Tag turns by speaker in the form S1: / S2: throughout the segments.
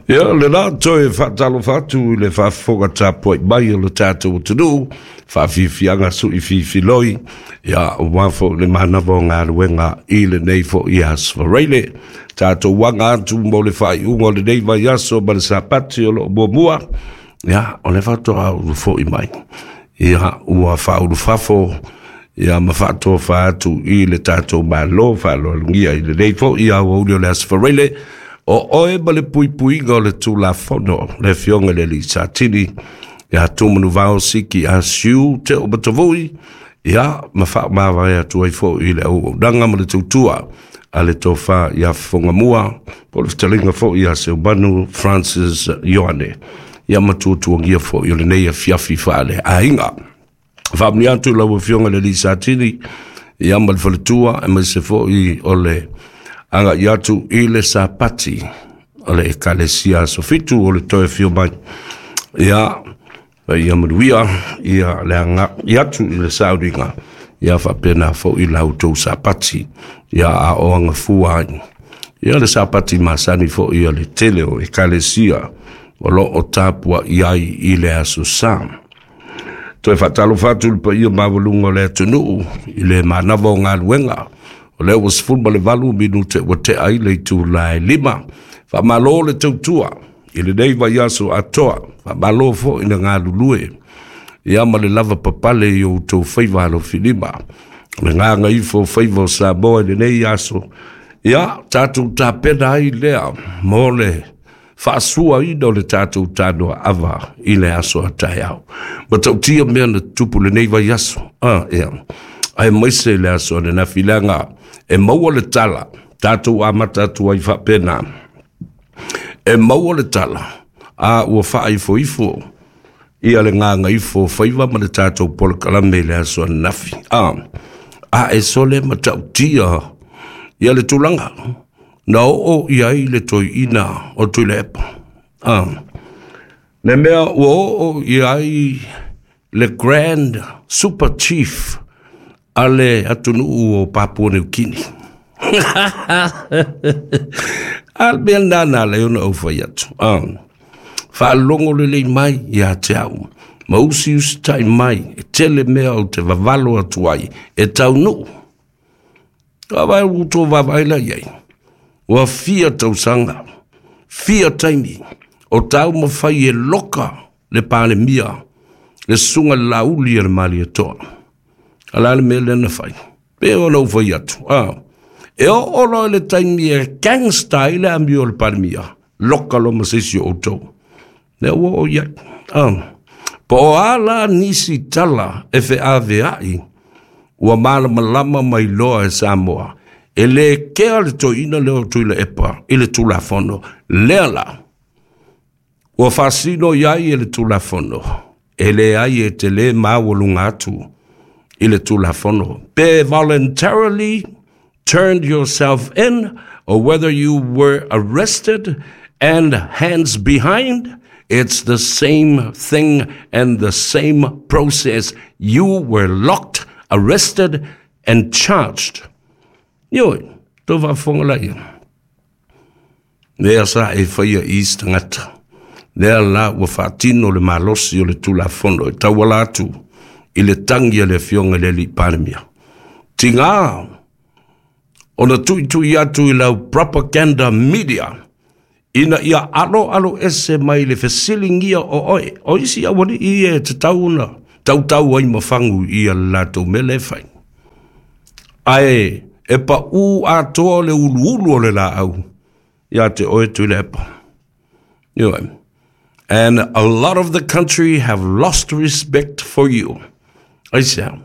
S1: Ia, le la toe faatalofa atu i le faafofoga tapuai mai o le tatou atunuu, faafiafiaga sui fifiloi, ia, aua foi le manava o galuega i lenei foi aso Faraile. Tatou aga atu mo le faaiuga o lenei vaiaso ma le Sapati o lo o muamua, ia, o le faatoa ou foi mai. Ia, ua faaulufafo, ia, ma faatofa atu i le tatou Malo faaaloalogia i lenei foi aoauli o le aso Faraile, o oe ma le puipuiga o le Tulafono, le Afioga i le Alii Satini, ia Tumanuvao Siki Asiu Te Omatavui, ia, ma faamavae atu ai foi i le auaunaga ma le tautua a le tofa ia Fofogamua, po o le fetalaiga foi ia Seumanu Francis Ioane, ia ma tuatuagia foi o lenei afiafi faaleaiga. Faamanuia atu i lau Afioga i le Alii Satini, ia ma le faletua, aemaise foi o le agai atu i le Sapati o le Ekalesia Aso Fitu o le toe afio mai. Ia, ia manuia ia le agai atu i le sauniga, ia faapena foi la outou Sapati, ia a o agafua ai. Ia le Sapati masani foi o le tele o Ekalesia o lo o tapuai ai i le aso Sa. Toe faatalofa atu i le paia maualuga o le atunuu i le manava o galuega. O lea ua 18 minute ua tea ai le itula e 5. Faamalo le tautua i lenei vaiaso atoa. Faamalo foi le galulue ia ma le lava papale i outou faiva alofilima. O le gagaifo o faiva o Samoa i lenei aso, ia tatou tapena ai lea mo le faasuaina o le tatou tanoa ava i le aso a taeao. Matautia mea na tutupu lenei vaiaso. Ia. Aemaise le aso ananafi leaga e maua le tala, tatou amata atu ai faapena. E maua le tala, a ua faaifoifo ia le gagaifo o faiva ma le tatou polokalame i le aso ananafi. A e sole matautia ia le tulaga na oo i ai le toeaina o Tuilaepa. Le mea ua oo i ai le Grand Super Chief a le atunuu o Papua New Guinea. A le mea lena na ala ai ona ou fai atu. Faalogo lelei mai ia te au, ma usiusitai mai, e tele mea ou te vavalo atu ai, e taunuu. Vaai ua outou vaavaai la i ai. Ua fia tausaga, fia taimi, o taumafai e loka le Palemia, le susuga i le Laauli a le Malietoa. A o le a le mea lea na fai? Pei ona ou fai atu, e oo loa i le taimi e gangster ai le amio a le Palemia, loka loa ma se isi o outou. Lea ua oo i ai. Po o a la nisi tala e feaveai, ua malamalama mai loa e Samoa, e le kea le toeaina lea o Tuilaepa i le Tulafono lea la. Ua faasino i ai e le Tulafono, e leai e te le maualuga atu i le Tulafono. Pe voluntarily turned yourself in or whether you were arrested and hands behind, it's the same thing and the same process. You were locked, arrested and charged. Ioe, tau faafofoga laia. Lea sa e faia i isi tagata. Lea la ua faatino le malosi o le Tulafono e tauala atu i le tagi a le Afioga i le Alii Palemia. Tiga ona tuitui atu i lau propaganda media ina ia aloalo ese mai le fesiligia o oe. O isi aualii ia e tatau ona tautau ai ma fagu i a latou mea lea e fai. Ae e pau atoa le uluulu o le laau ia te oe Tuilaepa. Ioe. And a lot of the country have lost respect for you. Aisea,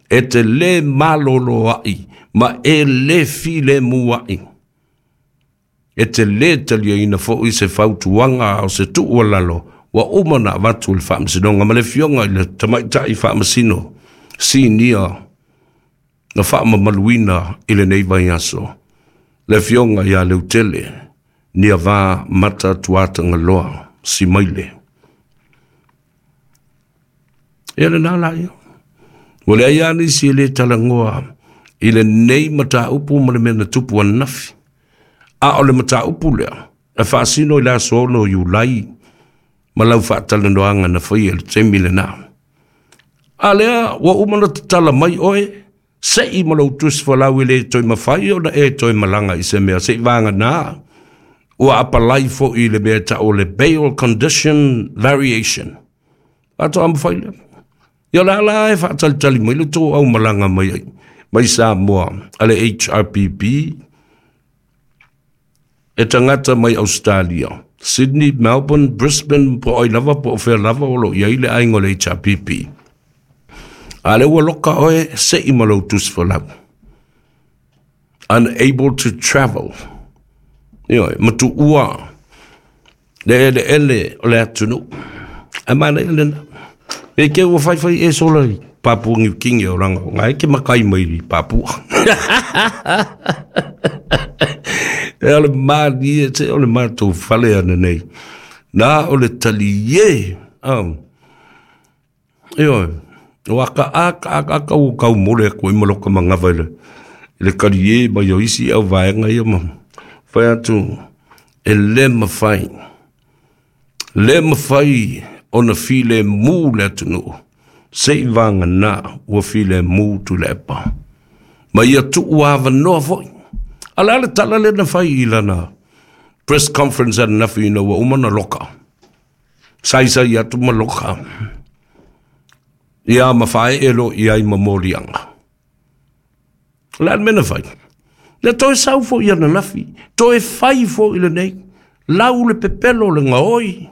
S1: e te le malolo ai ma e le filemu ai. E te le taliaina foi se fautuaga o se tuualalo ua uma ona avatu i le Faamasinoga ma le Afioga i le Tamaitai Faamasino Sinia na faamamaluina i lenei vaiaso, le Afioga ia Leutele Niava Mata Tuatagaloa Simaile. Ia lena la ia. Ua leai lava nisi e le talanoa i lenei mataupu ma le mea na tupu ananafi. A o le mataupu lea, E faasino i le aso 6 o Iulai ma lau faatalanoaga na faia i le taimi lenā. A lea ua uma ona tatala mai oe, se'i ma lou tusi folau e le toe mafai ona e toe malaga i se mea se'i vagana ua apalai foi i le mea e ta'u o le bail condition variation. Faatoa mafai lea. Ia o le a la e faatalitali mai le tou aumalaga mai ai mai Samoa a le HRPP e tagata mai Ausetalia, Sydney, Melbourne, Brisbane, po o ai lava po o fea lava o lo o i ai le aiga o le HRPP. A lea ua loka oe, se'i ma lou tusi folau. Unable to travel. Ioe, ma tuua le eleele o le atunuu. Ae manaia lena. Pe ke ua faifai e sola i Papua New Guinea o langa o ngai ke makai mai i Papua. E o le malie te o le matou fale ana nei. Na o le talie. Oh. Ioe, o aka aka aka aka ua kau mole aku ai ma loka mangawa i le, i le kaliē mai o isi au vaega ia ma fai atu e le mafai, le mafai ona filemu le atunuu se i vagana ua filemu Tuilaepa. Ma ia tuu avanoa foi. A o le a le tala lea na fai i lana press conference ananafi ina ua uma ona loka? Saisai atu ma loka. Ia ma faaee loa i ai ma moliaga. O le a le mea na fai? Na toe sau foi ananafi, toe fai foi lenei, lau le pepelo le gaoi.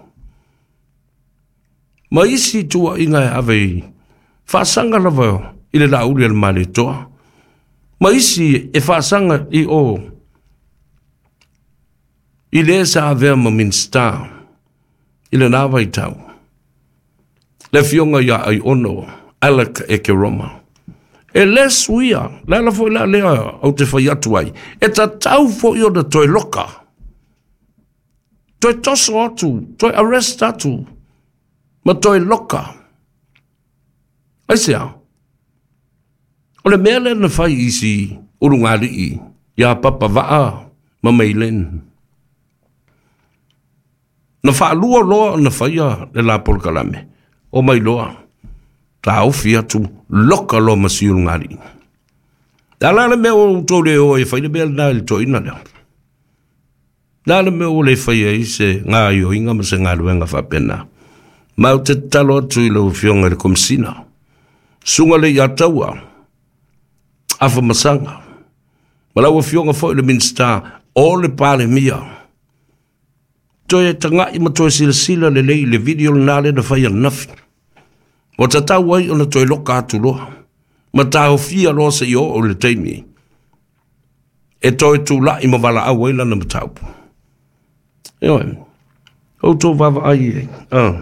S1: Ma isi tuuaiga e ave i faasaga lava i le Laauli a le Malietoa, ma isi e faasaga i o i le sa avea ma Minisita i lena vaitau, le afioga ia Aiono Alec Ekeroma. E le suia, le ala foi la lea ou te fai atu ai, e tatau foi ona toe loka, toe toso atu, toe arrest atu, ma toe loka. Aisea? O le mea lea na fai i si ulugalii ia Papa Vaa ma Meilen. Na faalua loa ona faia le la polokalame, omai loa, taofi atu, loka loa ma si ulugalii. A o le a le mea ua outou le o ai e fai le mea lena i le toeaina lea? Le a le mea ua le fai ai se gaoioiga ma se galuega faapena? Ma ou te tatalo atu i lau Afioga i le Komesina, Susuga Leiataua Afamasaga, ma lau Afioga foi i le Minisita o le Palemia, toe taga'i ma toe silasila lelei i le video lena lea na fai ananafi. Ua tatau ai ona toe loka atu loa, ma taofia loa seia oo i le taimi e toe tula'i ma valaau ai lana mataupu. Ioe, outou vaavaai i ai.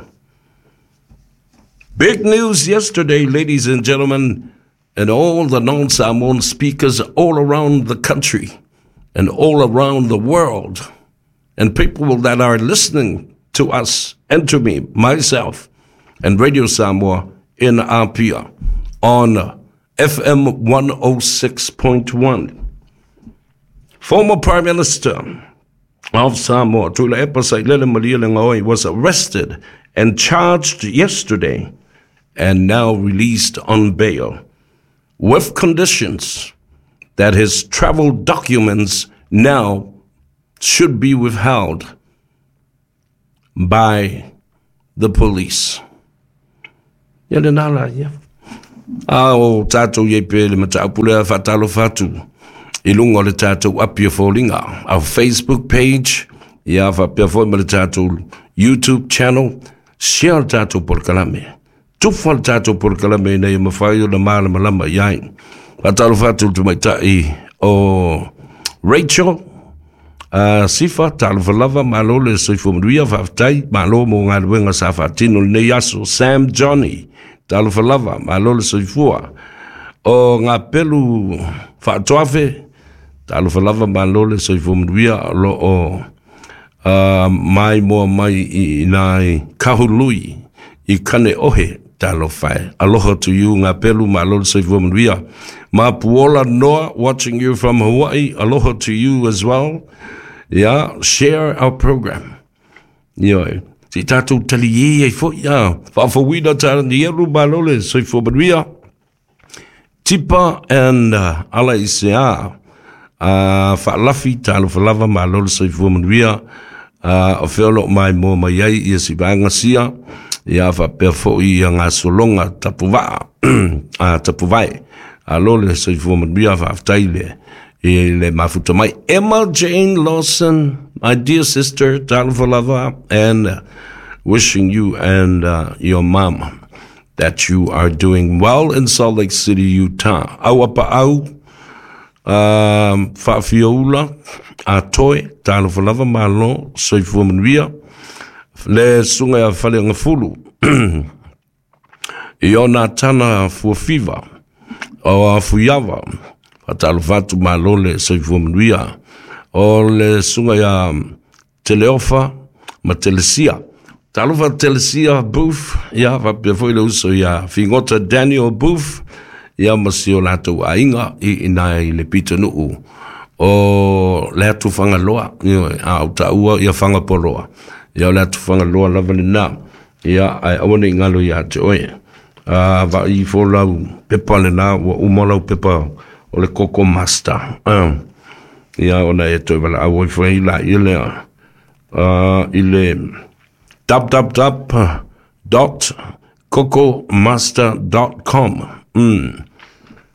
S1: Big news yesterday, ladies and gentlemen, and all the non-Samoan speakers all around the country and all around the world, and people that are listening to us and to me, myself, and Radio Samoa in Apia on FM 106.1. Former Prime Minister of Samoa, Tuilaepa Sailele Malielegaoi, was arrested and charged yesterday and now released on bail with conditions that his travel documents now should be withheld by the police. Ia lena la ia. A o tātou i pe le mataupu lea faatalofa atu i luga o le tātou api o foliga, our Facebook page, ia faapea foi ma le tātou YouTube channel, share le tātou polokalame. Tufa le tātou polokalame ina ia mafai ona malamalama i ai. Faatalofa atu i le tamaitai o Rachel, Sifa, talofa lava, malo le soifua manuia, faafetai, malo mo galuega sa faatino lenei aso. Sam Johnny, talofa lava, malo le soifua. O Ngapelu Faatoafe, talofa lava, malo le soifua manuia, o lo o maimoa mai i ina i Kahului, i Kaneohe, talofa e. Aloha to you, Ngapelu, malo le soifua manuia. Mapuola Noa, watching you from Hawaii, aloha to you as well. Ia, share our program. Ioe, se i tatou taliē ai foi, a, faafouina ta ni elu malo le soifua manuia. Tipa and ala i se a, faalafi talofa lava malo le soifua manuia. O fea o loo maimoa mai ai ia si vaega sia, ia faapea foi ia gasologa tapuvaa, tapuvae. Alo le soifua manuia, faafetai le i le mafuta mai. Emma Jane Lawson, my dear sister, talofa lava, and wishing you and your mom that you are doing well in Salt Lake City, Utah. Au apa au, faafioula, a toe, talofa lava malo, soifua manuia, le susuga ia Faleagafulu, i ona tana fuafiva, o a fuiava, faatalofa atu malo le soifua manuia, o le susuga ia Teleofa ma Telesia. Talofa Telesia Booth, ia faapea foi le uso ia Figota Daniel Booth, ia ma si o latou aiga i ina i le pitonuu o le atu Fagaloa, ioe, a o taua ia Fagapoloa. Ia o le atu Fagaloa lava lena. Ia ae aua ne i galo ia te oe. A vai ifo lau pepa lena, ua uma lau pepa o le Koko Master. Ia ona e toe valaau ai foi la i lea i le www.cocomaster.com.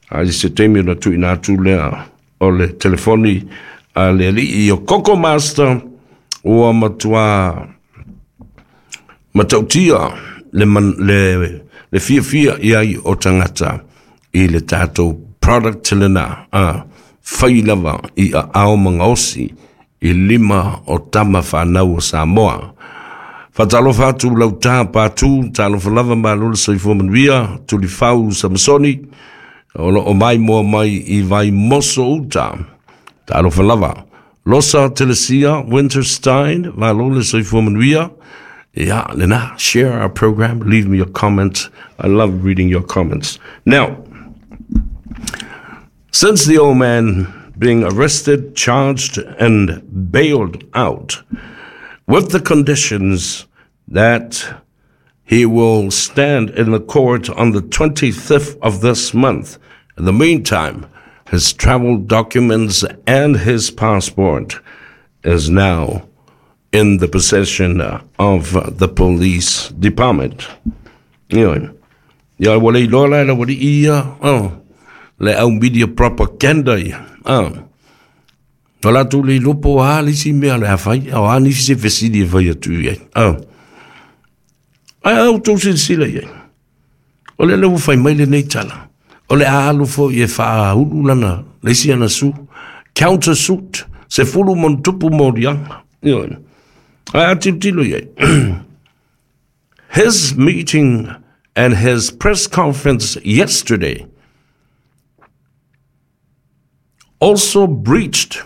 S1: A i se taimi ona tuuina atu lea o le telefoni a le alii o Koko Master ua matua matautia le, man, le fiafia i ai o tagata i le tatou product lena a fai lava i aao ma gaosi i lima o tama fanau o Samoa. Faatalofa atu lauta patu, talofa lava malo le soifua manuia, Tulifau Samsoni, o loo maimoa mai i Vaimoso uta. Talofa lava. Losa Telesia Winterstein, malo le soifua manuia. Yeah, lena, share our program, leave me a comment. I love reading your comments. Now, since the old man being arrested, charged, and bailed out, with the conditions that he will stand in the court on the 25th of this month. In the meantime, his travel documents and his passport is now in the possession of the police department. Ioe. Ia ua le iloa la e le aualii ia, oh, le au media propaganda ia. Oh. O latou le iloa po o a le isi mea o le a fai, o a nisi se fesili e fai atu i ai. Oh. Ae a outou silasila i ai. O lea ua fai mai lenei tala. O le a alu foi e faaulu lana, le isi ana su, counter suit, 10+ moliaga. Ioe. Ae a tilotilo i ai. His meeting and his press conference yesterday also breached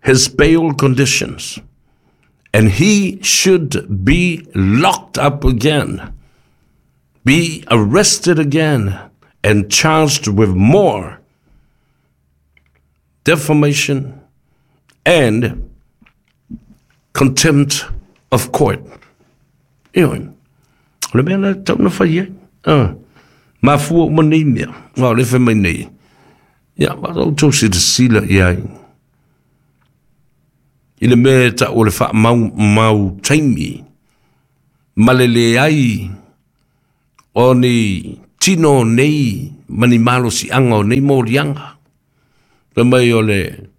S1: his bail conditions, and he should be locked up again, be arrested again, and charged with more defamation and contempt of court. Ioe, o le mea la tau na fai ai. Mafua uma nei mea. O le fai mai nei. Ia, ma outou silasila i ai. I le mea e tau o le faamau mau taimi ma le leai o ni tino o nei ma ni malosiaga o nei moliaga. Fai mai o le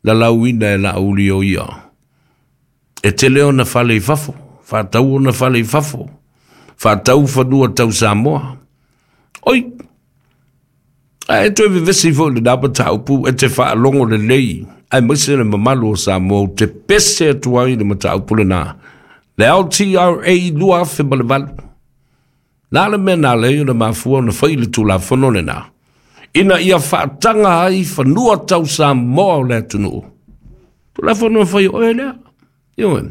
S1: lalauina e Laauli o ia. E tele ona fale i fafo, faatau ona fale i fafo, faatau fanua tau Samoa. Oi, ae toe vevesi foi lena mataupu e te faalogo lelei, aemaise le mamalu o Samoa ou te pese atu ai le mataupu lena. Le LTRA 2008. Na le mea na lei ona mafua ona fai le Tulafono lena. Ina ia faataga ai fanua tau Samoa o le atunuu. Tulafono e fai oe lea. Ioe.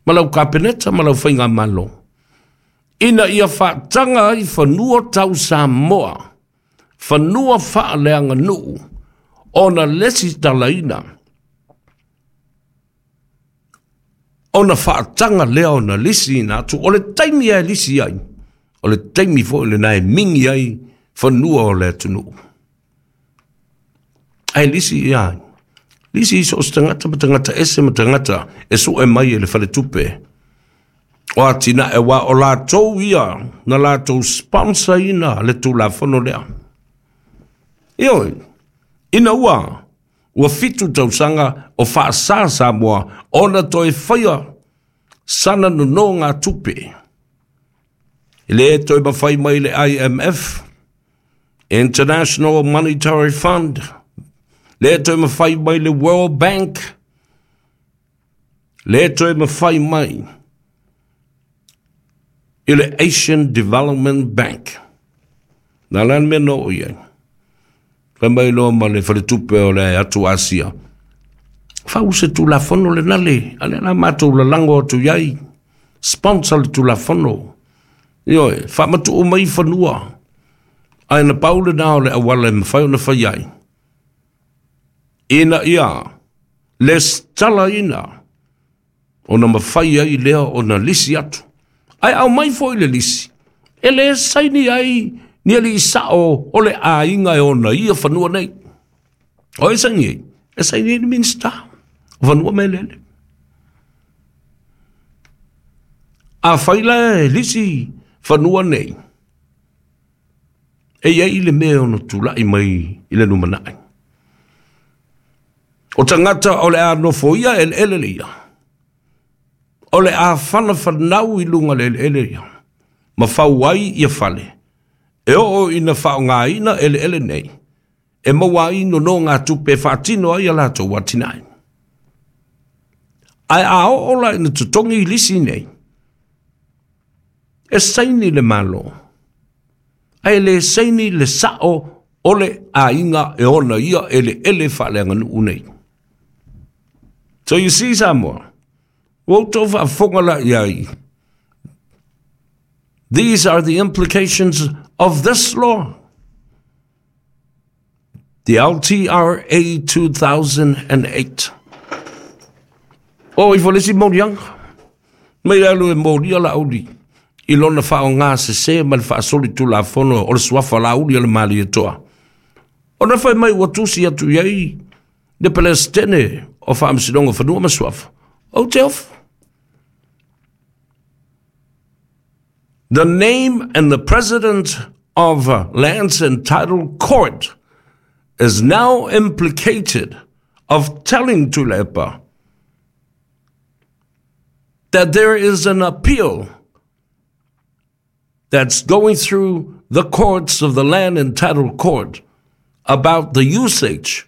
S1: Ma lau kapeneta ma lau faigamalo. Ina ia faataga ai fanua tau Samoa. Fanua faaleaganuu ona lesitalaina. Ona faataga lea ona lisiina atu, o le taimi e lisi ai, o le taimi foi lena e mingi ai fanua o le atunuu. Ae lisi ia, lisi i so o se tagata ma tagata ese ma tagata e sue mai e le faletupe o atinae, aua o latou ia na latou sponsor ina le Tulafono lea. Ioe, ina ua 7 tausaga o faasā Samoa ona toe faia sana nonogatupe. E le toe mafai mai le IMF, International Monetary Fund, le toe mafai mai le World Bank, le toe mafai mai i le Asian Development Bank. Na la le mea na oo i ai. Fai mai loa ma le faletupe o le atu Asia, fau se Tulafono lena le, a lea la matou lalago atu i ai, sponsor le Tulafono. Ioe, faamatuu mai fanua. Ae na pau lena o le auala e mafai ona fai ai, ina ia lesitalaina ona mafai ai lea ona lisi atu. Ae aumai foi le lisi, e le saini ai ni alii sao o le aiga e ona ia fanua nei. O e saini ai? E saini ai le Minisita o Fanua ma Eleele. A fai la e lisi fanua nei, e i ai le mea ono tulai mai i le lumanai. O tagata o le a nofoia eleele le ia, o le a whanafanau i lunga le eleele ia, ma fau ai ia fale, e oo ina faaaogaina eleele nei, e maua ai nonogatupe e faatino ai a latou atinae. Ae a oo la ina totogi lisi nei, e saini le Malo, ae le saini le sao o le aiga e ona ia eleele faaleaganuu nei. So you see, Samoa, ua outou faafofoga la i ai. These are the implications of this law, the LTRA 2008. O ifo le isi moliaga, mai le alu e molia Laauli i lona faaaogasesē ma le faasoli Tulafono o le suafa Laauli o le Malietoa. Ona fai mai ua tusi atu i ai le Peresetene o Faamasinoga o Fanua ma Suafa. Ou te ofo. The name and the president of Lands and Title Court is now implicated of telling Tuilaepa that there is an appeal that's going through the courts of the Land and Title Court about the usage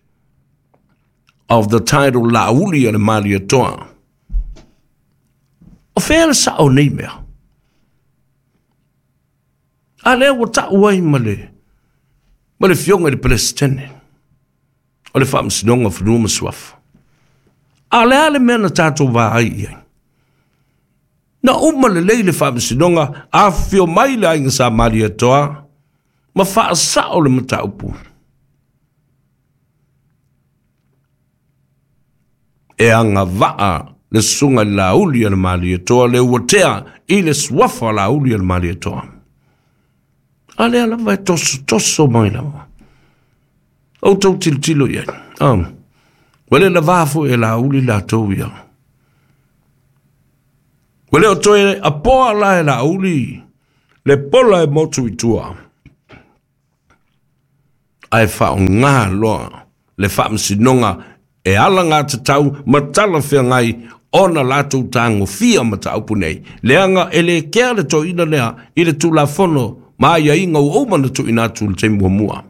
S1: of the title Laauli a le Malietoa. O fea le sao nei mea? A lea ua tau ai ma le fioga i le Peresetene o le Faamasinoga o Fanua ma Suafa. A lea le mea na tatou vaai i ai. Na uma lelei le faamasinoga, afifio mai le aiga Sa Malietoa ma faasao le mataupu. E agavaa le susuga i le Laauli a le Malietoa le ua tea i le suafa Laauli a le Malietoa. A lea lava e tosotoso mai lava. Outou tilotilo i ai. Oh. Ua le lavā foi e Laauli latou ia. Ua le o toe apoa la e Laauli le pola e motu i tua. Ae faaaoga loa le faamasinoga e alagatatau ma talafeagai ona latou tagofia mataupu nei. Leaga e le kea le toeaina lea i le Tulafono ma aiaiga ua uma na tuuina atu i le taimi muamua.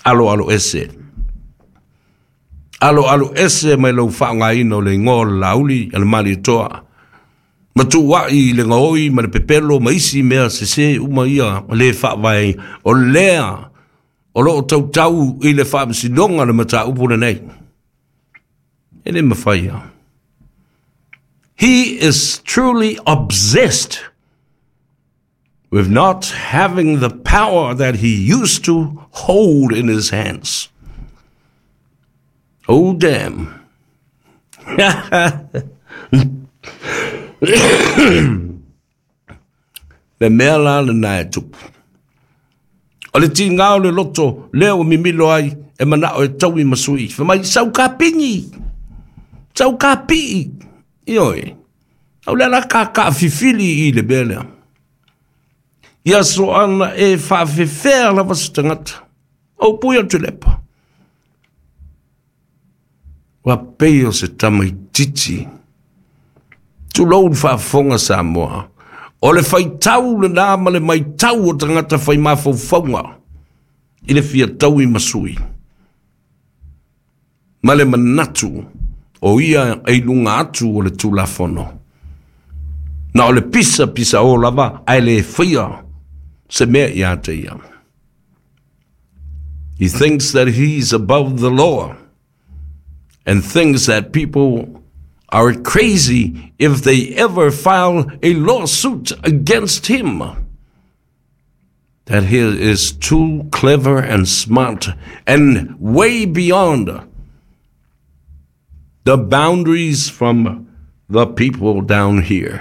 S1: Aloalo ese. Aloalo ese mai lau faaaogaina o le igoa o le Laauli a le Malietoa. Ma tuuai i le gaoi ma le pepelo ma isi mea sesē uma ia le faavae o lea o loo tautau i le faamasinoga le mataupu lenei. E le mafai a. He is truly obsessed with not having the power that he used to hold in his hands. Oh, damn. Le mea la lenā e tupu. O le tiga o le loto lea ua mimilo ai e manao e taui ma sui. Fai mai, sau kapigi, sau kapii. Ioe, au le ala kakafifili i le mea lea. Ia soana e faafefea lava se tagata. O pui o Tuilaepa. Ua pei o se tamaititi. Tulou le faafofoga Samoa. O le faitau lenā ma le maitau o tagata fai mafaufauga i le fia taui ma sui. Ma le manatu o ia e i luga atu o le Tulafono. Na o le pisa pisa o lava ae le faia se mea ia te ia. He thinks that he's above the law and thinks that people are crazy if they ever file a lawsuit against him. That he is too clever and smart and way beyond the boundaries from the people down here.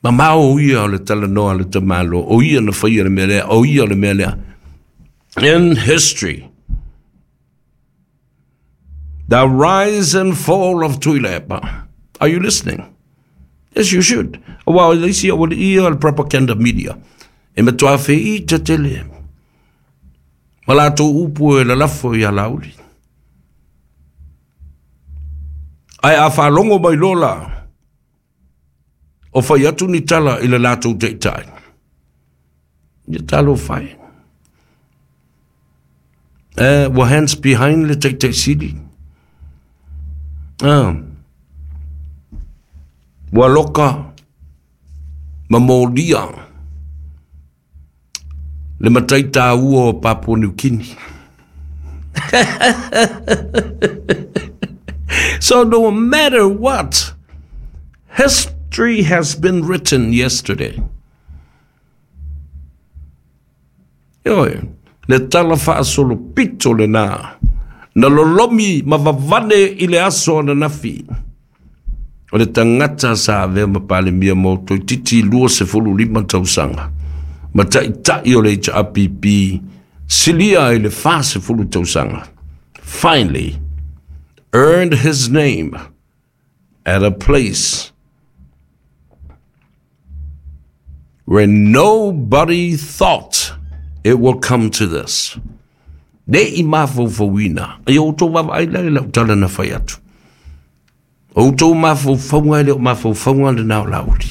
S1: Mamao ia o le talanoa le tamalo, o ia na whaia le mea lea, o ia le mea lea. In history, the rise and fall of Tuilaepa. Are you listening? Yes, you should. Aua o le isi o le ia le propaganda media. E matua whei te tele. Ma latou upu e lalafo ia Laauli. Ae a faalogo mai loa la, o fai atu ni tala i le latou taitai. Ia talofa e. Ua hands behind le taitai sili. Ah. Ua loka ma molia le matai tāua o Papua New Guinea. So no matter what, history has been written yesterday. Ioe, le tala faasolo pito lenā, na lolomi ma vavane i le aso ananafi. O le tagata sa avea ma Palemia mo toeitiiti 25 tausaga, ma taitai o le HRPP silia i le 40 tausaga, finally earned his name at a place where nobody thought it will come to this. Le i mafaufauina, e outou vaavaai la i lau tala na fai atu. O outou mafaufauga e le o mafaufauga lenā o Laauli.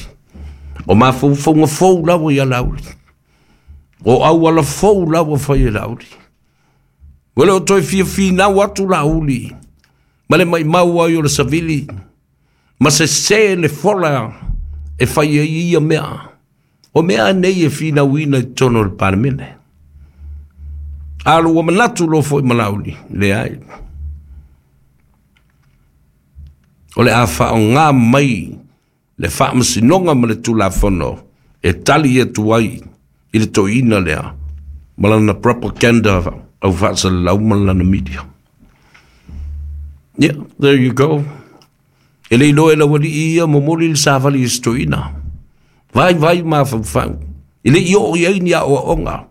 S1: O mafaufauga fou lava ia Laauli. O auala fou lava fai e Laauli. Ua le o toe fia finau atu Laauli ma le maimau ai o le savili ma sesē le fola e fai ai ia mea. O mea nei e finauina i totonu o le Palemene. A ua manatu loa foi ma Laauli, leai. O le a faaaoga mai le faamasinoga ma le Tulafono e tali atu ai i le toeaina lea ma lana propaganda au faasalalau ma lana media. Yeah, there you go. E le iloa e lau alii ia momoli le savali i se toeaina. Vaivai mafaufau. E le i oo i ai ni aoaoga.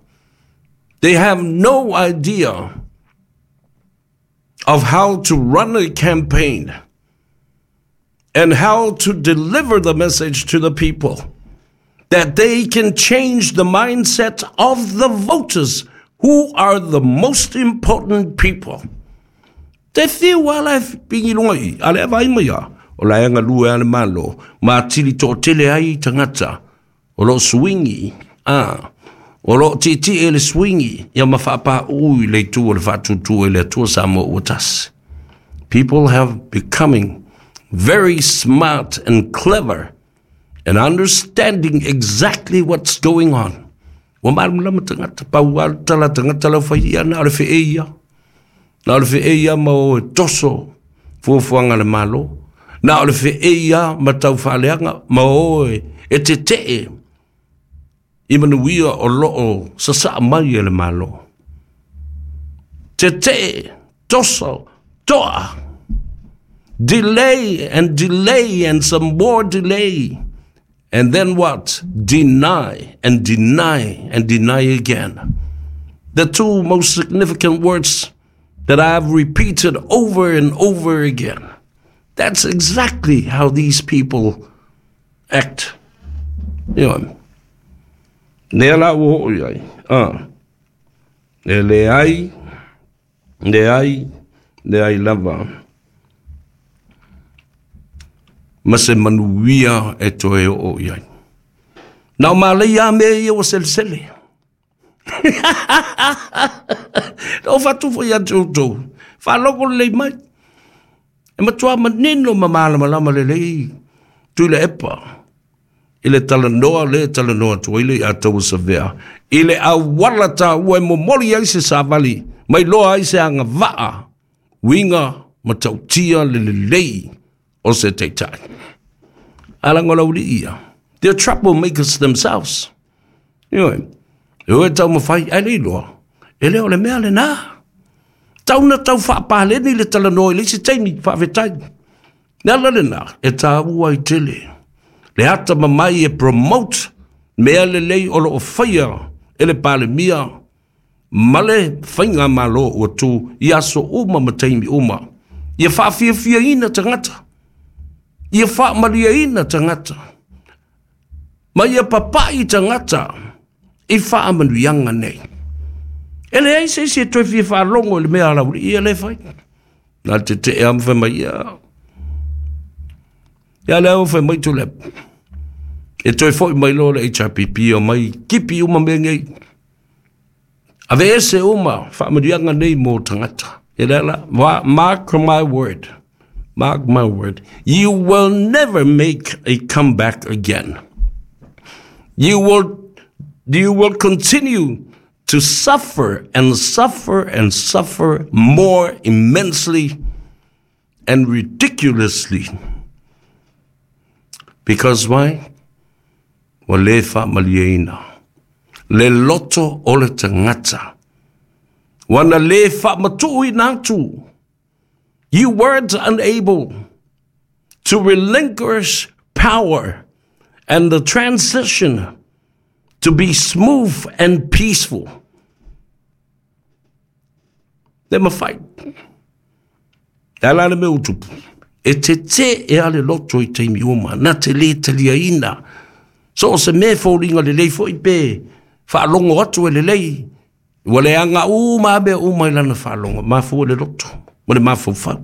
S1: They have no idea of how to run a campaign and how to deliver the message to the people that they can change the mindset of the voters who are the most important people. Te fiu ala e pingi lunga i, a le vai mai a, o la e galue a le Malo, ma atili toatele ai tagata, o lo swingi, a, o lo tietie e le swingi, ia ma faapauu i le itu o le faatuatua i le Atua Samoa ua tasi. People have becoming very smart and clever and understanding exactly what's going on. Ua malamalama tagata, pau lava le tala tagata lau fai ia, na o le feei ia. Na o le feei ia ma o e toso fuafuaga a le Malo. Na o le feei ia ma tau faaleaga ma o e tetee i manuia o lo o sasaa mai e le Malo. Tetee, toso, toa. Delay and delay and some more delay. And then what? Deny and deny and deny again. The two most significant words that I've repeated over and over again. That's exactly how these people act. Ioe. Lea la ua oo i ai. Ah. E leai, leai, leai lava. Ma se manuia e toe oo i ai. Na o malaia a mea ia ua selesele. Na o fatu foi ia te outou. Faalogo lelei mai. E matua manino ma malamalama lelei Tuilaepa i le talanoa lea e talanoa atu ai le ia Tauasavea i le auala taua e momoli ai se savali ma iloa ai se agavaa uiga matautia le lelei o se taitai. A leaga o le aualii ia, they're troublemakers themselves. Ioe, e o e taumafai, ae le iloa, e le o le mea lena. Tau na tau faapaleni le talanoa i le isi taimi, faafetai. Le ala lena, e taua ai tele le atamamai e promote mea lelei o lo o faia e le Palemia ma le faigamalo ua tu i aso uma ma taimi uma. Ia faafiafiaina tagata, ia faamalieina tagata, ma ia papai tagata i faamanuiaga nei. E leai se isi e toe fia faalogo i le mea a Laulii ia lea e fai. Na le tetee lava ma fai mai, ia, ia lea ua fai mai Tuilaepa. E toe foi mai loa le HRPP omai kipi uma mea nei. Aveese uma faamanuiaga nei mo tagata. E lea la, mark my word, mark my word, you will never make a comeback again. You will continue to suffer and suffer and suffer more immensely and ridiculously. Because why? Ua le faamalieina le loto o le tagata. Ua na le faamatuuina atu. You weren't unable to relinquish power and the transition to be smooth and peaceful. Le mafai. E ala le mea ua tupu. E tetē e a le loto i taimi uma, na te lē taliaina. So o se mea e foliga lelei foi pe faalogo atu e lelei, ua leaga uma lava mea uma i lana faalogo, mafua i le loto ma le mafaufau.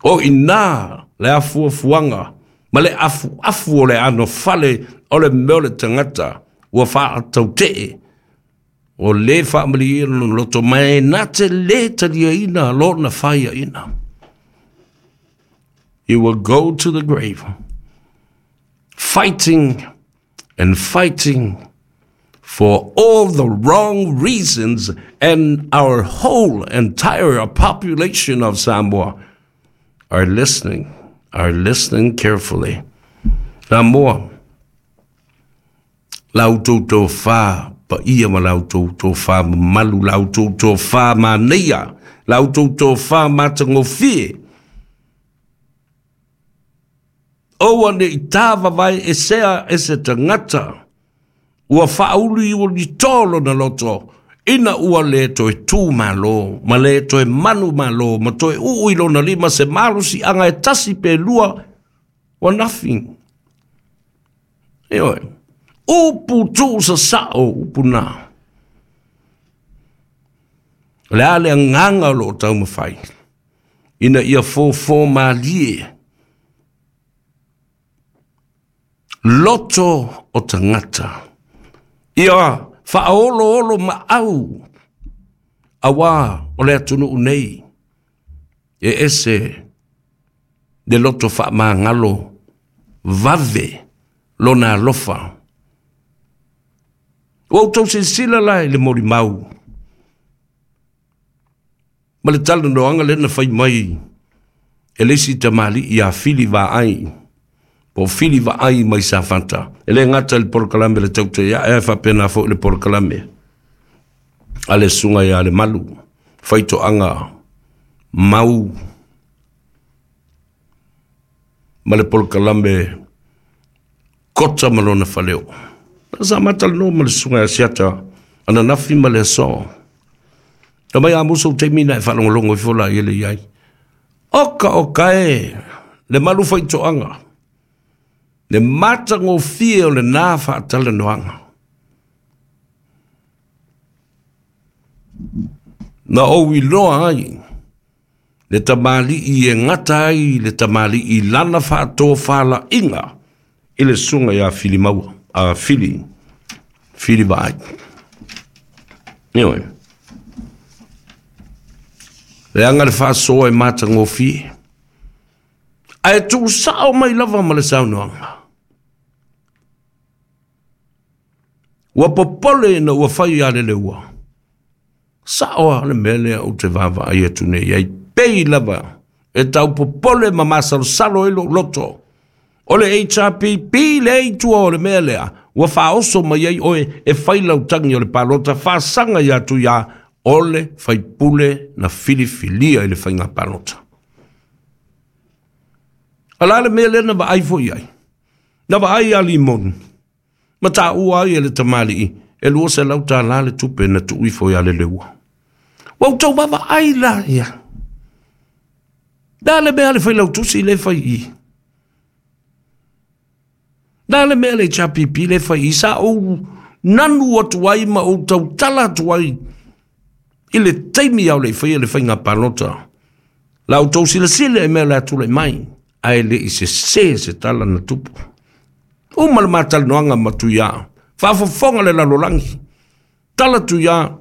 S1: O i ina le afuafuaga ma le afuafu o le anofale o le mea o le tagata ua faatautee, ua le faamalieina lona loto, ma e na te lē taliaina lona faiaina. You will go to the grave fighting and fighting for all the wrong reasons, and our whole entire population of Samoa are listening, are listening carefully. Samoa, la outou tofa paia ma la outou tofa mamalu, la outou tofa manaia, la outou tofa matagofie, Aua ne i tāvavae e sea e se tagata ua faauluiulito lona loto, ina ua lē toe tū malo, ma lē toe manu malo, ma toe uu i lona lima se malosiaga e tasi pe lua, ua nothing. Ioe. Upu tuusasao upu na. O le a le agaga o lo o taumafai ina ia fofo malie loto o tagata. Ia faaoloolo maau auā o le atunuu nei e ese le loto faamagalo vave lona alofa. Ua outou silasila la i le molimau ma le talanoaga lea na fai mai e le isi tamalii ia Fili Vaai, po o Fili Vaai mai Safata. E le gata i le polokalame a le Tautai Ae, ae faapena foi le polokalame a le Susuga ia Lemalu, faitoaga mau ma le polokalame Kota ma lona faleo. Sa matalanoa ma le susuga ia Siata ananafi ma le aso. Na mai a musu taimi na e faalogologo ifo la i le iai. Oka oka e le malu faitoaga, le matagofie o lena faatalanoaga. Na ou iloa ai le tamalii e gata ai le tamalii i lana faatofalaiga i le susuga ia Filimaua, a Fili, Fili Vaai. Ioe. Leaga le faasoa e matagofie, ae tuusao mai lava ma le saunoaga. Ua popole ina ua fai ia Leleua. Sao lava le mea lea ou te vaavaai atu nei ai, pei lava e tau popole ma masalosalo ai lou loto. O le HRPP lea i tua o le mea lea, ua faaoso mai ai oe e fai lau tagi o le palota faasaga ia Tuia o le faipule na filifilia i le faiga palota. A la le mea lea na vaai foi i ai? Na vaai ia Limoni. Ma taua ai e le tamalii e $200 le tupe na tuu ifo ia Leleua. Ua outou vaavaai la ia. Le a le mea a le failautusi lea e fai i i? Le a le mea a le HRPP lea e fai i i? Sa ou nanu atu ai ma ou tautala atu ai i le taimi a o le i faia le faiga palota. La outou silasila i mea o le a tulai mai, ae le i sese se tala na tupu. Uma le matalanoaga ma Tuia, faafofoga le lalolagi, tala Tuia,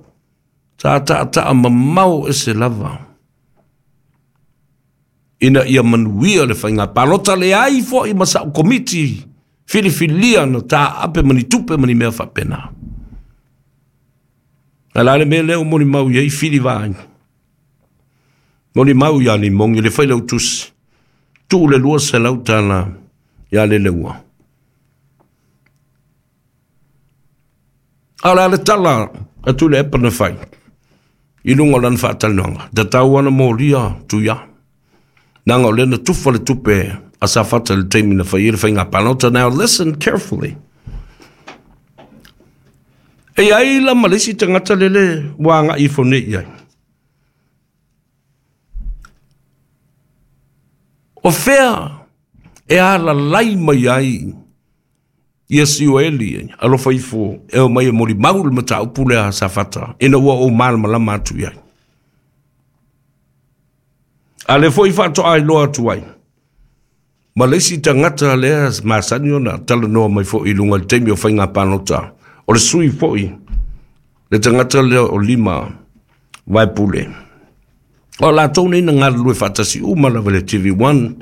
S1: sa taataa mamao ese lava ina ia manuia le faiga palota, leai foi ma sa'u komiti filifilia na taape ma ni tupe ma ni mea faapena. A la le mea lea ua molimau i ai Fili Vaai? Molimau ia Limogi le failautusi, tuu le $200 ia Leleua. A o le a le tala a Tuilaepa na fai i luga o lana faatalanoaga? Tatau ana molia Tuia, leaga o lea na tufa le tupe a Safata i le taimi na fai ai le faiga palota. Now listen carefully. E i ai la ma le isi tagata lele ua agai ifo nei i ai. O fea e alalai mai ai ia Sioeli alofa ifo e o mai e molimau le mataupu lea a Safata ina ua ou malamalama atu i ai. A lea foi faatoa iloa atu ai ma le isi tagata lea masani ona talanoa mai foi i luga i le taimi o faiga palota, o le sui foi le tagata lea o Lima Vaepule. O latou nei na galulue faatasi uma lava i le TV1,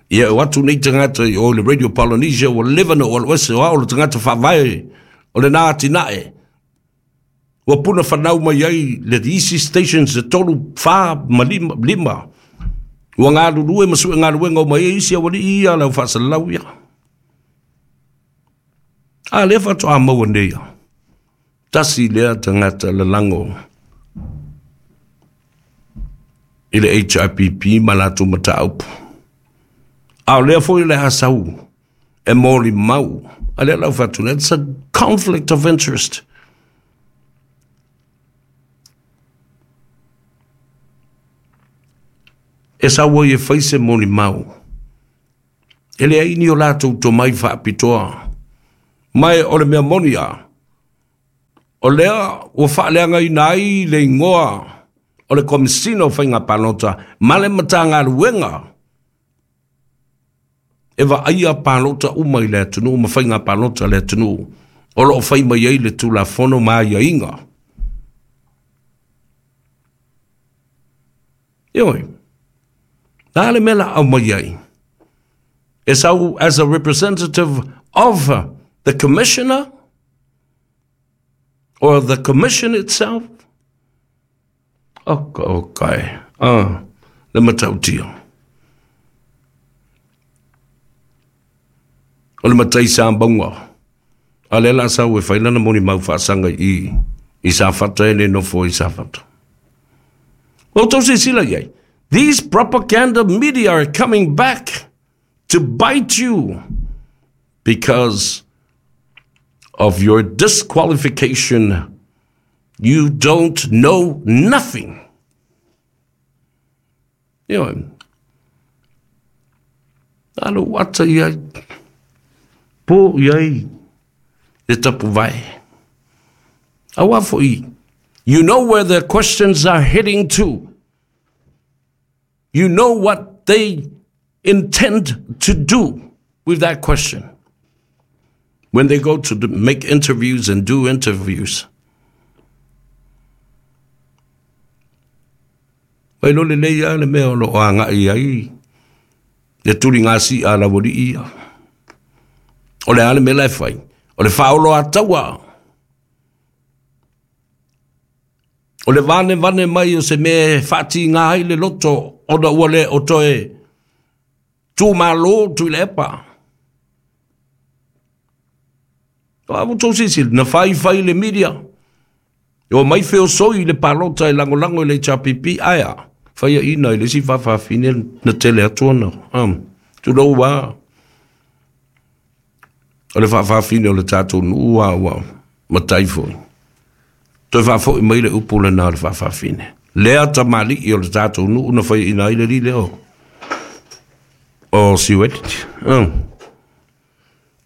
S1: ia o atu nei tagata i o i le Radio Polynesia, ua leva na ou alu ese, o au le tagata faavae o lena atinae. Ua puna fanau mai ai le isi stations e tolu, fa ma lima, lima. Ua galulue ma sue galuega uma ai isi aualii ia le au faasalalau ia. A lea faatoa maua nei ia. Tasi lea tagata lalago i le HRPP ma latou mataupu. A o lea foi o le a sau e molimau. A lea lau fatu, it's a conflict of interest. E sau ai e fai se molimau. E leai ni o latou tomai faapitoa. Ma o le mea moni a, o lea ua faaleagaina ai le igoa o le Komesina o Faiga Palota ma le Matagaluega e vaaia palota uma i le atunuu ma faiga palota a le atunuu o lo o fai mai ai le Tulafono ma aiaiga. Ioe, na le mea la aumai ai? E sau as a representative of the commissioner or the commission itself? Oka oka e, ah, le matautia. O le matai sa maunga. A lea la sau e fai lana molimau faasaga i i Safata e le nofo i Safata. Ua outou silasila i ai. These propaganda media are coming back to bite you because of your disqualification. You don't know nothing. Ioe. Alo ata i ai. Po i ai le tapuvae. Aua fo'i. You know where the questions are heading to. You know what they intend to do with that question when they go to make interviews and do interviews. Mai lo lelei lava le mea o lo o agai ai le tuligasi'a a laualii ia. O le a le mea la e fai? O le faaoloataua. O le vanevane mai o se mea e faatiga ai le loto ona ua le o toe tumalo Tuilaepa. O a outou silasila, na faifai le media, e omai feosoi i le palota e lagolago i le HRPP, ae a? Faiaina i le isi faafafine na tele atu ona, tulou lava. O le faafafine o le tatou nuu a ua matai foi. Toe faafoi mai le upu lena o le faafafine. Lea tamalii o le tatou nuu na faiaina ai le alii lea o Siueti.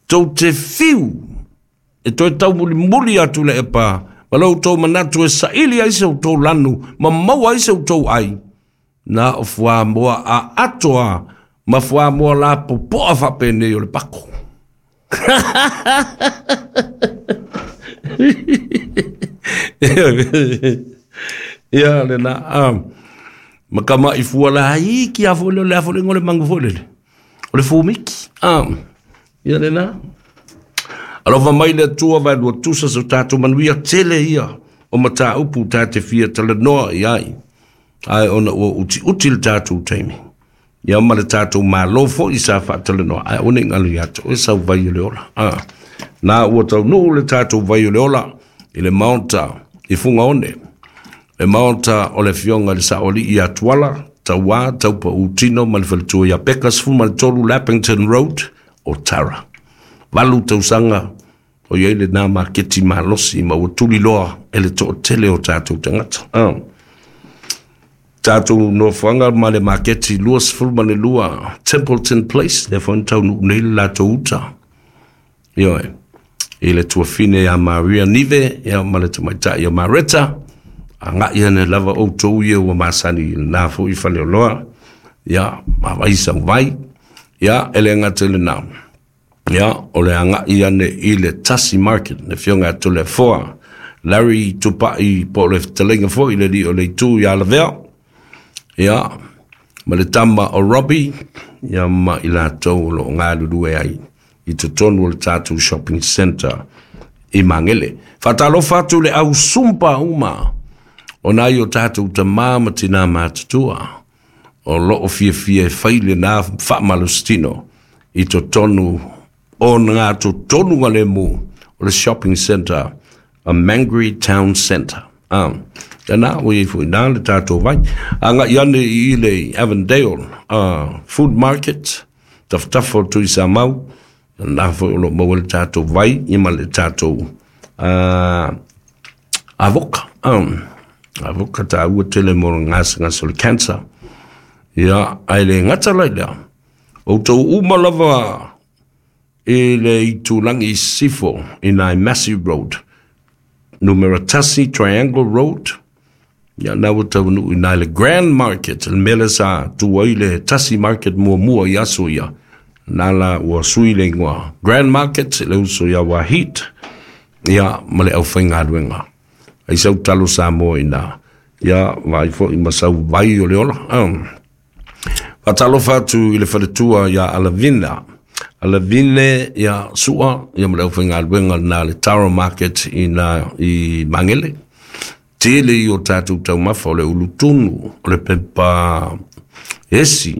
S1: Tou te fiu e toe taumulimuli atu le epa ma lo outou manatu e saili ai se outou lanu ma maua ai se outou ai, na o fuamoa a atoa ma fuamoa lapopoa faapenei o le pako. Ia lena, ma kamaʻi fua laiti a foi lea, o le a foi le igoa o le manu foi lele, o le fumiki. Ia lena. Alofa mai le Atua vaelua tusa so tatou manuia tele ia o mataupu ta te fia talanoa i ai, ae ona ua utiuti le tatou taimi, ia ma le tatou Malo foi sa faatalanoa, ae aua ne i galo ia te oe sau vai o le ola. Na ua taunuu le tatou vai o le ola i le Maota i Fugaone, le Maota o le Afioga i le Saoalii ia Tuala, Tauā, Taupautino ma le Faletua ia Peka, 13 Lappington Road, Otara. 8 tausaga o i ai lena maketi malosi ma ua tuliloa e le toatele o tatou tagata. Tatou nofoaga ma le maketi 22 Templeton Place, lea foi na taunuu nei le latou uta. Ioe, i le tuafine ia Maria Nive ia ma le tamaitai ia Mareta, agai ane lava outou ia ua masani i lena foi faleoloa, ia ma vai sau vai, ia e le gata i lena. Ia, o le agai ane i le Tasi Market, le afioga ia Toleafoa, Larry Tupai po o le fetalaiga foi i le alii o le itu ia Lavea, ia, ma le tama o Robbie, ia ma i latou o lo o galulue ai i totonu o le tatou shopping centre i Magele. Faatalofa atu i le au sumpa uma o nai o tatou tama ma tinā matutua o lo o fiafia e fai lena faamalositino i totonu o ngā totonu galemu o le shopping centre a Mangere Town Centre. Tēnā, ua i ai foi nā le tātou vai. Agai ane i le Avondale Food Market, tafatafa o Tuisamau, nā foi o lo o maua ai le tātou vai ia ma le tātou avoka. Avoka tāua tele mo le gasegase o le cancer. Ia, ae le gata la i lea, outou uma lava i le itulagi i sisifo i nai Massey Road, numera 1 Triangle Road, ia na ua taunuu i nai le Grand Market, le mea lea sa tu ai le Tasi Market muamua i aso ia, na la ua sui le ingoa Grand Market, le uso ia Wahid, ia ma le aufaigaluega. Ai sau talo Samoa i na, ia vaai foi ma sau vai o le ola. Faatalofa atu i le faletua ia Alavina, Alavine ia Sua, ia ma le aufaigaluega lena le Taro Market i na i Magele. Tele i o tatou taumafa o le ulutunu, o le pepa esi,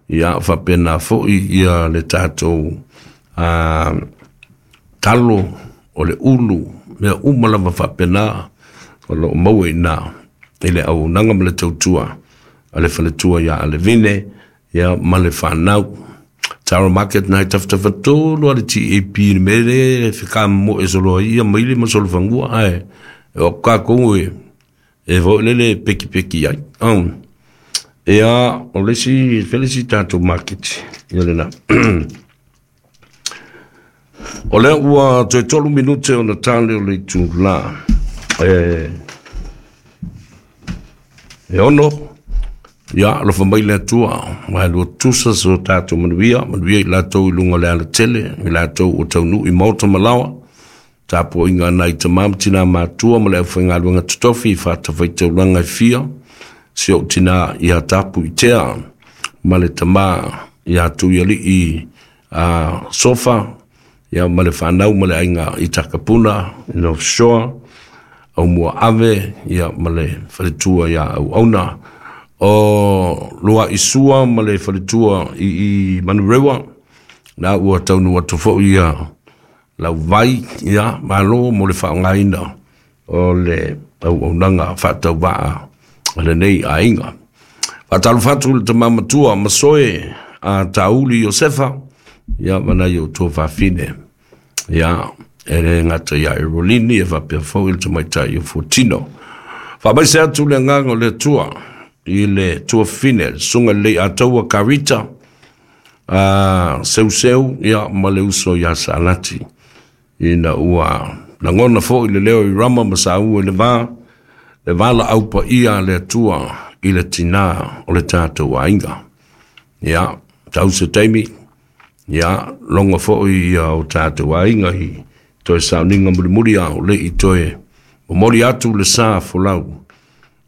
S1: ia faapena foi ia le tatou talo, o le ulu, mea uma lava faapena o lo o maua i ina i le auaunaga ma le tautua. a le faletua ia Alevine, ia ma le fanau. Tara Market nai tafatafatonu a le TAP i le mea lea e fekamomoe solo ai ia maile ma solofanua, ae o kākou e foi lele pekipeki ai. Ia, o le isi, felisi tatou market, ia lena. O lea ua toe 3 minute ona tale o le itula e 6. Ia, alofa mai le Atua, ma lua tusa so tatou manuia, manuia i latou i luga o le alatele, i latou o taunuu i maota ma laoa, tapuaiga nai tama ma tina matua ma le aufaigaluega totofi i fatafaitaulaga e fia, si ou tina ia tapu i tea, ma le tama ia Tuialii a Sofa, ia ma le fanau ma le aiga i Takapuna, i North Shore, au mua ave, ia ma le faletua ia Auauna, o Lua Isua ma le faletua i Manurewa, na ua taunu atu foi ia lau vai, ia malo mo le faaaogaina o le auaunaga faatauvaa a lenei aiga. Faatalofa atu le tama matua Masoe a Tauli Iosefa, ia ma nai o tua fafine, ia e le gata ia Erolini e faapea foi le tamaitai o Fuatino. Faamaise atu le agaga o le Atua i le tuafafine, le susuga lelei Ataua Karita, a Seuseu, ia ma le uso ia Salati, ina ua lagona foi le leo i Rama ma saua i le va, le valaau paia a le Atua i le tina o le tatou aiga. Ia, tau se taimi, ia, logo foi ia o tatou aiga i toe sauniga mulimuli a o le i toe momoli atu le sa folau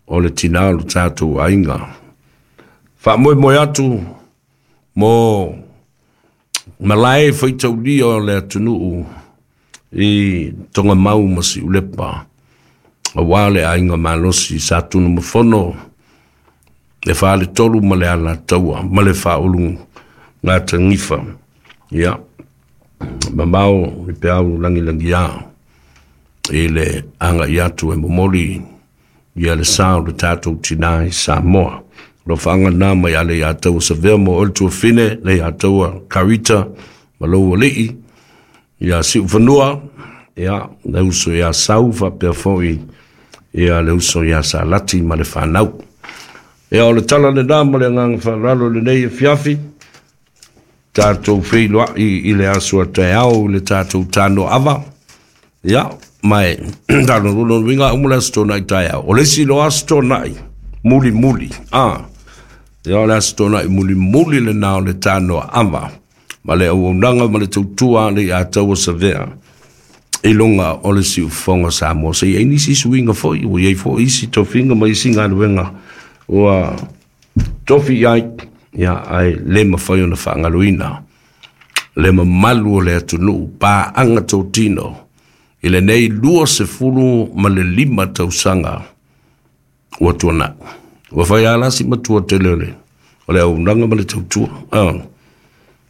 S1: o le tina o le tatou aiga. Faamoemoe atu mo malae faitaulia o le atunuu i Togamau ma Siulepa, aua le aiga malosi sa Tunumafono, le Faletolu ma le Alataua ma le Faaulu Gatagifa. Ia, mamao i peau langilangia i le agai atu e momoli ia le sa o le tatou tina i Samoa. Alofaga na mai ale ia taua Savea mo oe le tuafine, le ia taua Karita ma lou alii, ia Siufanua, ia le uso ia Sau faapea foi ia le uso ia Salati ma le fanau. Ia o le tala lena ma le agaga faaaloalo lenei afiafi, tatou feiloai i le aso a taeao i le tatou tanoava. Ia, mai tano luga uma le aso tonai taeao. O le isi loa aso tonai muli muli. Ia o le aso tonai muli muli le na o le tanoava. Ma le auaunaga ma le tautua le ia taua Savea i luga o le siufofoga Samoa. Se i ai nisi suiga foi, ua iai foi isi tofiga ma isi galuega ua tofi i ai, ia ai le mafai ona faagaloina le mamalu o le atunuu paaga totino i lenei 25 tausaga ua tuanai. Ua fai alasi matua tele o le auaunaga ma le tautua.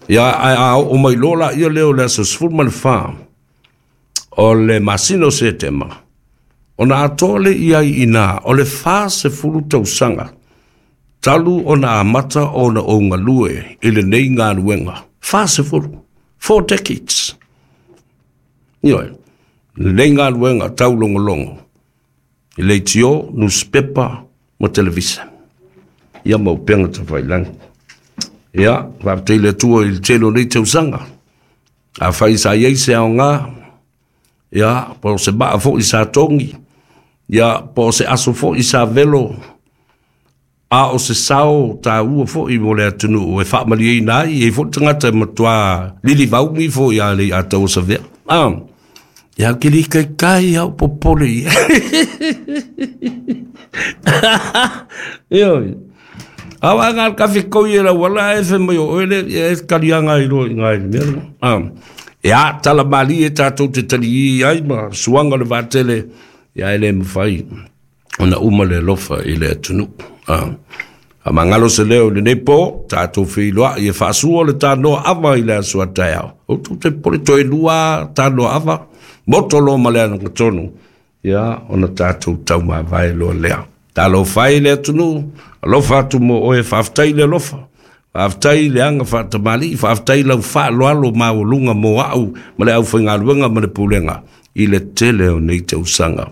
S1: Ia, ae a oo mai loa la ia lea o le aso 14 o le masina o Setema, ona atoa le iai ina o le 40 tausaga talu ona amata ona ou galue i lenei galuega. 40, 4 decades. Ioe, lenei galuega taulogologo i leitio, newspaper ma televisa. Ia ma upega tafailagi. Ia, faafetai le Atua i le tele o nei tausaga. Afai sa iai se aoga, ia, po o se maa foi sa togi, ia, po o se aso foi sa velo, a o se sao tāua foi mo le atunuu e faamalieina ai, e foi tagata e matua lilivauni foi a le a taua Savea. Ia ke li kai kai au popole ia. Ioe. Awa ngā kafe koi e lau ala e fe mai o oele, e kalianga i roa i ngā i mea. Ia, tala mali e tātou te tali i ai ma suanga le vātele, ia e le mawhai ona uma le alofa i le atunuu. A mangalo se leo i lenei po, tātou feiloai e faasua le tanoa ava i le aso a taeao. O tu te pole toe lua tanoa ava, moto lo ma le anagatonu, ia ona tātou taumavae loa lea. Talofa e le atunuu, alofa atu mo oe, faafetai le alofa. Faafetai le aga faatamalii, faafetai lau faaaloalo maualuga mo au ma le aufaigaluega ma le pulega i le tele o nei tausaga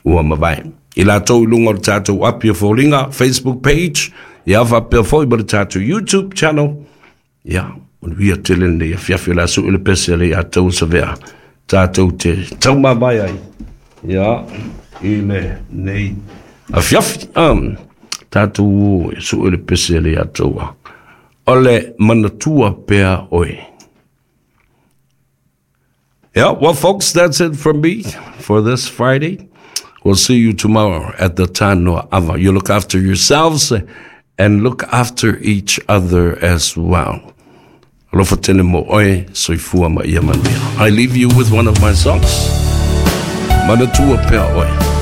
S1: ua mavae. I latou i luga o le tatou api o foliga, Facebook page, ia faapea foi ma le tatou YouTube channel, ia, manuia tele lenei afiafi o le a sui le pese a le ia tau savea tatou te taumamae ai, ia, i lenei afiafi. Tatou sui le pese a le ia taua. O le manatua pea oe. Yeah, well, folks, that's it from me for this Friday. We'll see you tomorrow at the Tanoa Ava. You look after yourselves and look after each other as well. Alofa tele mo oe, soifua ma ia manuia. I leave you with one of my songs. Manatua pea oe.